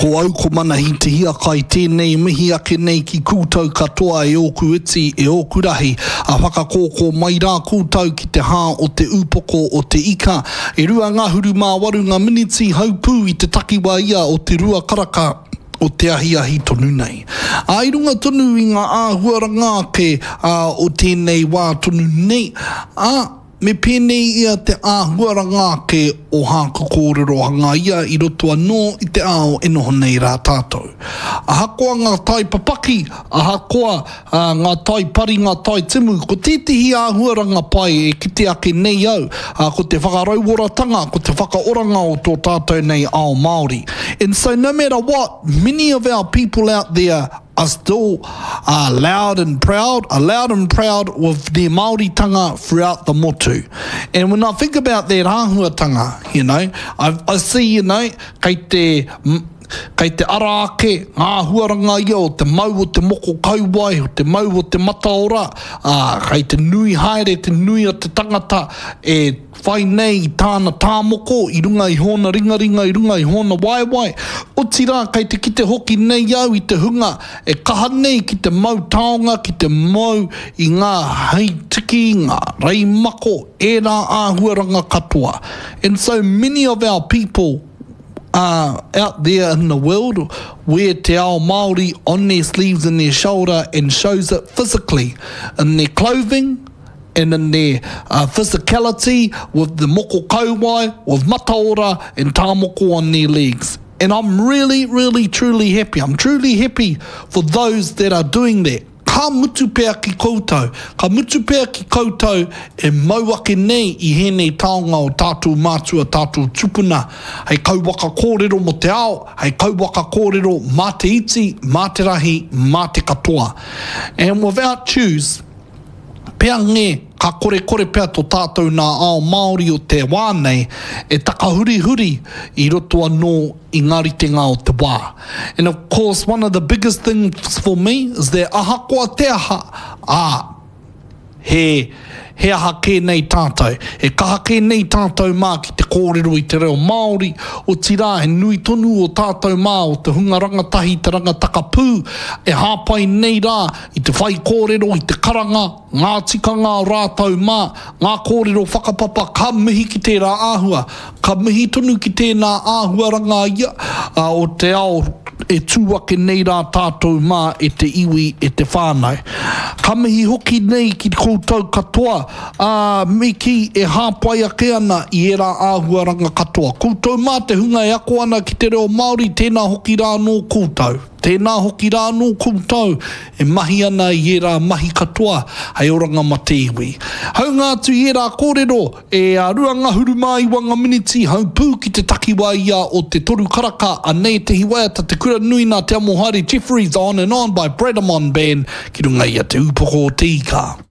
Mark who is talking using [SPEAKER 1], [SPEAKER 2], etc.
[SPEAKER 1] Ko au ko Manahi Te Hiakai tēnei mihi ake nei ki koutou katoa e ōku iti, e ōku rahi, a whakakōkō mai rā koutou ki te hā o te ūpoko o te ika. E 28 ngā miniti haupū i te takiwā ia o te rua karaka o te ahiahi tonu nei. Ā, i runga tonu i ngā āhuaranga ake o tēnei wā tonu nei, ā, me pēnei ia te āhuaranga ake o hāku kōrero hangaia i roto anō i te ao e noho nei rā tātou. Ahakoa ngā tai papaki, ahakoa ngā tai pari, ngā tai timu, ko tētehi āhuaranga pai e kite ake nei au, ko te whakarauoratanga, ko te whakaoranga o tō tātou nei ao Māori. And so no matter what, many of our people out there are still are loud and proud, are loud and proud with their Māoritanga throughout the motu. And when I think about that āhuatanga, you know, I, I see, you know, kei te, kei te ara ake ngā āhuaranga ia o te mau o te moko kauae, o te mau o te mataora, ā, kei te nui haere te nui o te tangata e whai nei i tāna tāmoko i runga i hōna ringaringa, i runga i hōna waewae. Otirā, kei te kite hoki nei au i te hunga e kaha nei ki te mau taonga, ki te mau i ngā hei tiki, ngā rei mako, ērā āhuaranga katoa. And so many of our people are out there in the world wear te ao Māori on their sleeves and their shoulder and shows it physically in their clothing and in their uh, physicality with the moko kauae, with mataora and tāmoko on their legs. And I'm really, really, truly happy. I'm truly happy for those that are doing that. Ka mutu pea ki koutou, ka mutu pea ki koutou e mau ake nei i hēnei taonga o tātou mātua, tātou tupuna, hei kauwaka kōrero mō te ao, hei kauwaka kōrero mā te iti, mā te rahi, mā te katoa. And without choose, pea nge, ka korekore pea to tātou nā ao Māori o te wā nei e takahurihuri i roto anō i ngā ritenga o te wā. And of course one of the biggest things for me is that ahakoa te aha, ā, he, he aha kē nei tātou. He kaha kē nei tātou mā ki te kōrero i te reo Māori, otirā he nui tonu o tātou mā o te hunga rangatahi, te rangatakapū, e hāpai nei rā i te whaikōrero, i te karanga, ngā tikanga o rātou mā, ngā kōrero whakapapa, ka mihi ki tērā āhua, ka mihi tonu ki tēnā āhuaranga ia o te ao e tū ake nei rā tātou mā e te iwi, e te whānau. Ka mihi hoki nei ki koutou katoa, ā, me kī e hāpai ake ana i ērā āhuaranga katoa. Koutou mā te hunga e ako ana ki te reo Māori, tēnā hoki rā anō koutou. Tēnā hoki rā anō koutou e mahi ana i ērā mahi katoa hei oranga ma te iwi. Haunga atu i ērā kōrero, e a 29 nga miniti haupū ki te takiwā ia o te toru karaka, anei ētehi waiata Te Kura Nui nā Te Amohaere Jefferies On and On by Bradamon Band ki runga i a Te Ūpoko o Te Ika.